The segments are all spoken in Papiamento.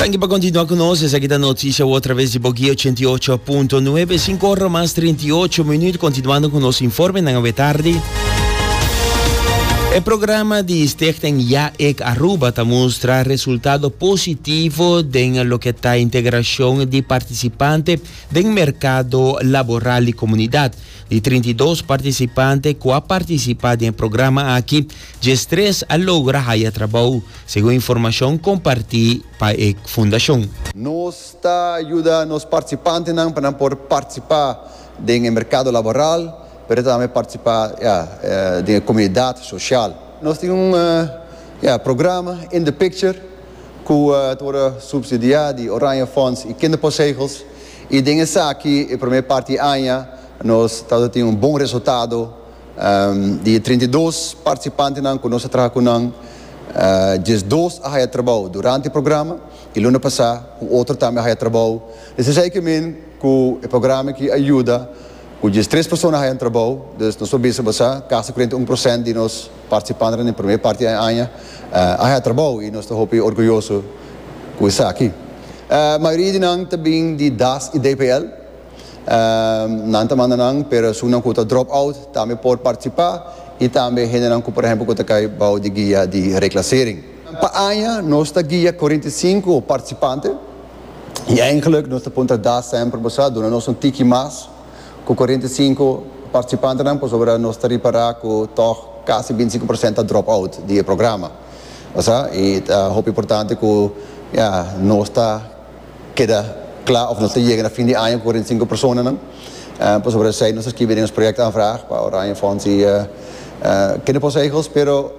Danki pa continua cu nos. Esaki ta Noticia Awo traves di Boguia 88.9, 5 ora mas 38 minuut. Continuando cu nos informenan awe tardi. E programa di Stichting Ja Ik Aruba ta mustra resultado positivo den loke ta integracion di participante den mercado laboral di comunidad. Di 32 participante cu a participa den e programa aki, 13 a logra haya trabou, segun informacion comparti pa e fundacion. Nos ta yuda nos participantenan pa nan por participa den e mercado laboral, pero tambe participa, ya, den e comunidad social. Nos tin un, ya, programa In the Picture cu ta worde subsidia di Oranje Fonds y Kinderpostzegels y den esaki e prome parti di aña nos tabata tin un bon resultado. Di e 32 participantenan cu nos a traha cu nan, 12 a haya trabou durante e programa y luna pasa un otro tambe a haya trabou. Dus esey ke men cu e programa aki a yuda cu 13 persona a haya un trabou. Dus nos por bisa bo sa casi 41% di nos participantenan den prome parti di e aña a haya trabou y nos ta hopi orguyoso cu esaki. Mayoria di nan ta bin di das y DPL. Nan ta manda nan, pero esunnan ku ta drop out tambe por partisipá i tambe hendenan ku por ehèmpel ku ta kai bou di guia di reklasering. Pa aña nos ta guia 45 partisipante i eigenlijk nos ta puntra das semper bo sa duna nos un tiki mas ku 45 partisipantenan pasobra nos ta ripará ku tòg kasi 25% ta drop out di e programa bo sa i ta hopi importante ku ya nos ta keda kla of nos ta yega na fin di aña ku 45 personanan. Pasobra esei nos a skibi den nos projectaanvraag pa Oranje Fonds i Kinderpostzegels. Pero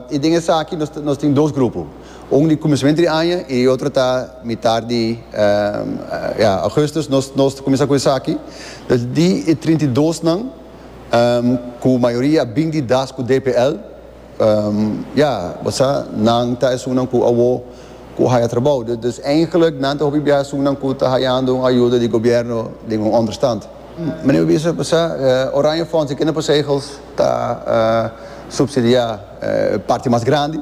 i den esaki nos nos tin dos grupo. Un di kuminsamentu di aña i e otro ta mitar di ya augustus nos nos ta kuminsá ku esaki. Dus di e 32 nan ku mayoria a bin di das ku DPL. Ya, bo sa, nan ta esunnan ku awo ku haya trabou. Dus eigenlijk nan ta hopi bia esunnan ku ta hayando un ayuda di gobierno den un onderstand. Meneer bo bisa, bo sa, Oranje Fonds i Kinderpostzegels ta subsidia e parti mas grandi,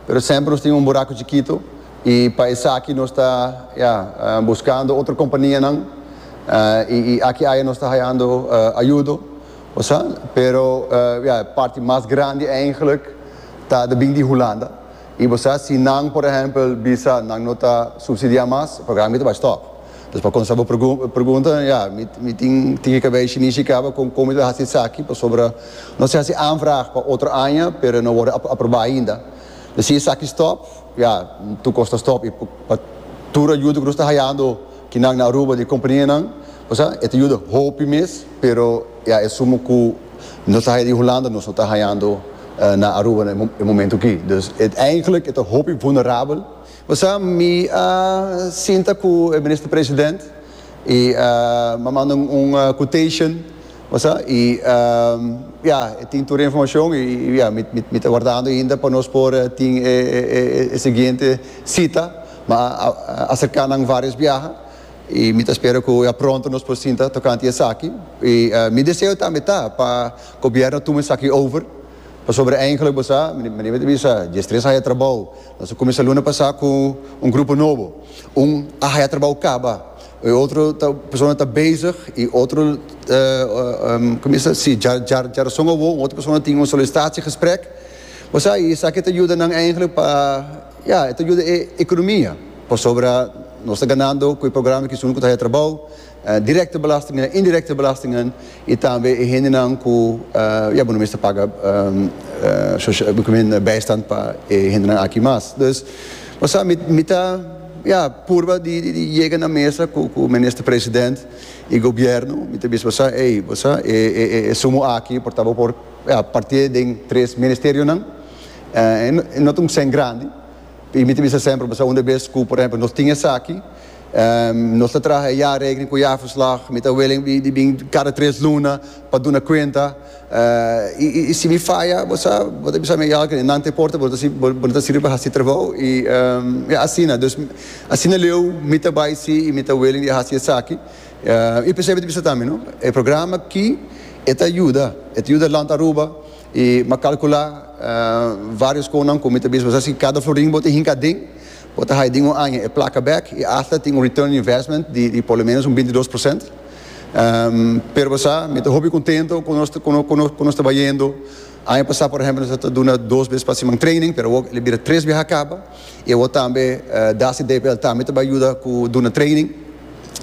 pero semper nos tin un buraco chikito i pa esaki nos ta, ya, buscando otro companianan i aki aya nos ta hayando ayudo. Osea, pero ya e parti mas grandi eigenlijk ta de bin di Hulanda. Y bo sa si nan por ehempel bisa nan no ta subsidia mas, e programa ta bay stop. Dus pa contesta bo pregunta, ya, mi mi tin tin e cabey shinishi caba con con mi ta haci esaki pasobra nos a haci aanvraag pa otro aña pero no worde aproba ainda. Dus si esaki stop, ya, tur cos ta stop y pa tur ayuda cu nos ta hayando kinan na Aruba di companianan, Osea, e ta yuda hopi mes, pero ya e sumo ku nos ta haya di Hulanda nos no ta hayando na Aruba na e momento aki. Dus e eigenlijk e ta hopi vulnerabel. Osea, mi a sinta ku e minister president i mi a manda un quotation, osea, i ya e tin tur e informashon i ya mi ta wardando ainda pa nos por tin e siguiente sita. Mi a aserka nan varios biaha. I mi ta spera ku ya pronto nos por sinta tokante esaki. I mi deseo tambe ta pa gobièrnu tuma esaki over, pasobra eigenlijk bo sa, manera mi ta bisa, 13 a haya trabou. Nos a kuminsá luna pasá ku un grupo nobo. Un a haya trabou kaba, e otro ta persona ta bezig i otro kuminsá si djarason awor un otro persona tin un solicitatiegesprek. Bo sa, i esaki ta yuda nan eigenlijk pa, ya, e ta yuda e ekonomia. Pasobra nos ta ganando ku e programa ki esun ku ta haya trabou, direkte belastingen, indirekte belastingen i tambe e hendenan ku ya bo no mester paga bijstand pa e hendenan aki mas. Dus bo sa mi ta ya purba di yega na mesa ku minister president i gobierno mi ta bisa bo sa ey bo sa e sumo aki por ta bo por partié den tres ministerionan e no ta un sèn grandi. I mi ta bisa semper, pasobra unda bes ku, por ehempel, nos tin esaki, nos ta traha e jaarrekening ku jaarverslag, mi ta willing di bin kada tres luna pa duna kuenta. I si mi faya, bo sa, bo ta bisa mi, ya, nan ta e porta, bo no ta sirbi pa hasi trabou. I ya, asina. Dus, asina leu mi ta bai si i mi ta willing di hasi esaki. I p'esei mi ta bisa tambe, no, e programa aki e ta yuda, e ta yuda Land Aruba. I m'a kalkulá vários konan ku mi ta bisa, si kada florin bo ta hinka aden, Bo ta haya den un aña e placa bek y hasta tin un return on investment di por lo menos un 22%. Pero bo sa, mi ta hopi contento cu nos cu nos ta bayendo. Aña pasa por ehempel nos ta duna dos bes pa siman training, pero awor el bira tres biaha caba. Y awor tambe Dasi DPL tambe ta bay yuda cu duna training.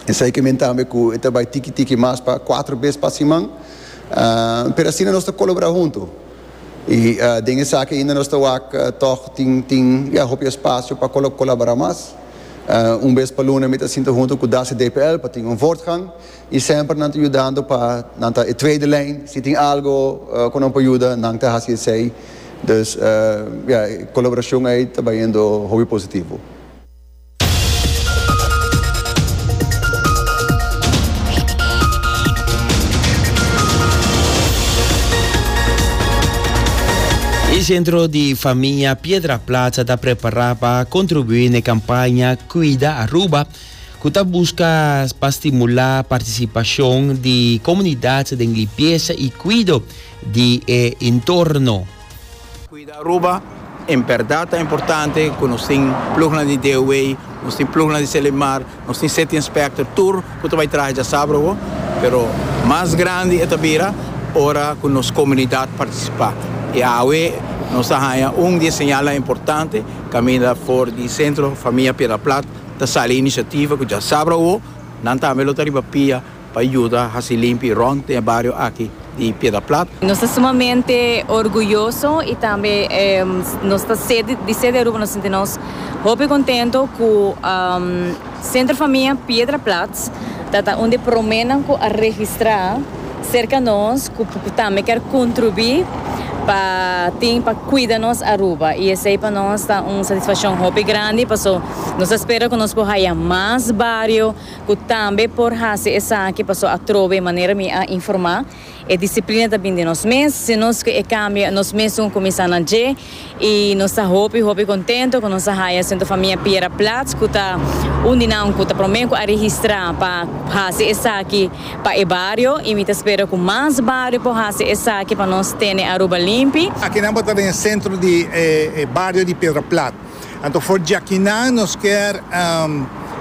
Esey ke men tambe cu e ta bay tiki tiki mas pa cuatro bes pa siman. Pero asina nos ta colabora hunto. Y den esaki ainda nos ta wak tog tin tin ya hopi espacio pa colabora mas. Un bes pa luna mi ta sinta hunto cu Dasi DPL pa tin un voortgang y semper nan ta yudando pa nan ta e tweede lijn. Si tin algo cu nan por yuda nan ta haci esey. Dus ya e colaboracion ey ta bayendo hopi positivo. E Centro di Famia Piedra Plat ta prepara pa contribui n'e campaña Cuida Aruba cu ta busca pa stimula participacion di comunidad den limpieza y cuido di e entorno. Cuida Aruba, en berdad ta importante cu nos tin ploegnan di DOW, nos tin ploegnan di Selimar, nos tin City Inspector, tur cu ta bay traha djasabra awo, pero mas grandi e ta bira ora cu nos comunidad participa. Y awe nos ta haya un di e señalnan importante caminda for di Centro Famia Piedra Plat ta sali e iniciativa cu djasabra awo nan tambe lo ta riba pia pa yuda hasi limpi rond den e bario aki di Piedra Plat. Nos ta sumamente orguyoso y tambe nos ta sede di sede Aruba nos sinti nos hopi contento cu Centro Famia Piedra Plat ta ta un di promenan cu a registra cerca nos cu tambe kier contribui pa tin pa cuida nos Aruba y esey pa nos ta un satisfaccion hopi grandi paso nos ta spera cu nos por haya mas bario Cu tambe por haci esaki paso atrobe manera mi a informa e disciplina ta bin di nos mes, si nos cu e cambia nos mesun cuminsa na dje y nos ta hopi hopi contento cu nos a haya Centro Famia Piera Plat cu ta un di nan cu ta prome cu a registra pa haci esaki pa e bario y mi ta spera cu mas bario por haci esaki pa nos tene Aruba limpi. Akinan bo ta den e centro di e bario di Piedra Plat. Anto for djakinan nos kier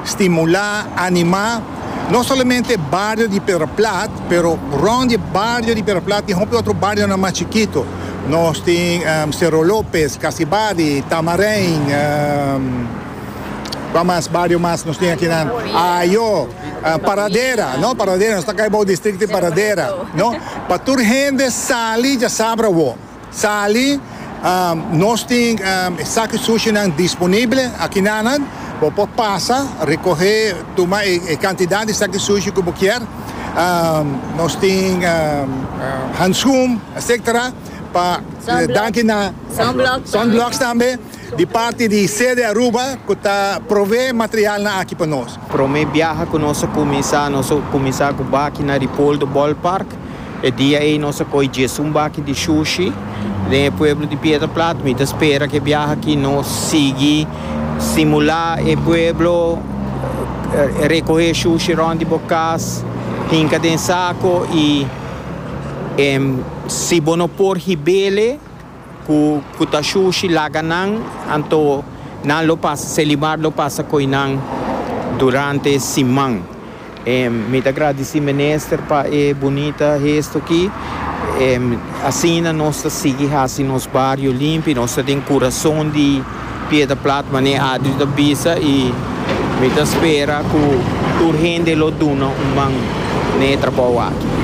stimulá, animá no solamente e bario di Piedra Plat, pero rònt di e bario di Piedra Plat tin hopi otro barionan mas chikito. Nos tin Cerro Lopez, Casibari, Tamarijn, kua mas bario mas nos tin akinan? Ayo, Paradera, no? Paradera, nos ta kai bou distrikto di Paradera, no? Pa tur hende sali djasabra awor. Sali, Nos tin e saki sushinan disponible akinanan. Bo por pasa, rekohe, tuma e kantidat di saki sushi ku bo kier. Nos tin handschoen, etcetera, pa danki na sunblocks tambe di parti di Sede Aruba ku ta provee materialnan aki pa nos. Prome biaha ku nos a kuminsá, nos a kuminsá ku baki na Ripoldo Ballpark. E dia ei nos a koe djesun baki di shushi den e pueblo di Piedra Plat. Mi ta spera ku e biaha aki nos sigui stimulá e pueblo rekohé shushi rònt di bo kas, hinka den sako i si bo no por hib'ele Ku ku ta shushi laga nan, anto nan lo pasa, Selimar lo pasa koe nan durante siman. E mi ta gradisí minister pa e bunita gesto aki. E asina nos ta sigui hasi nos bario limpi, nos ta den kurason di Piedra Plat manera Adri ta bisa i mi ta spera ku tur hende lo duna un man na e trabou aki.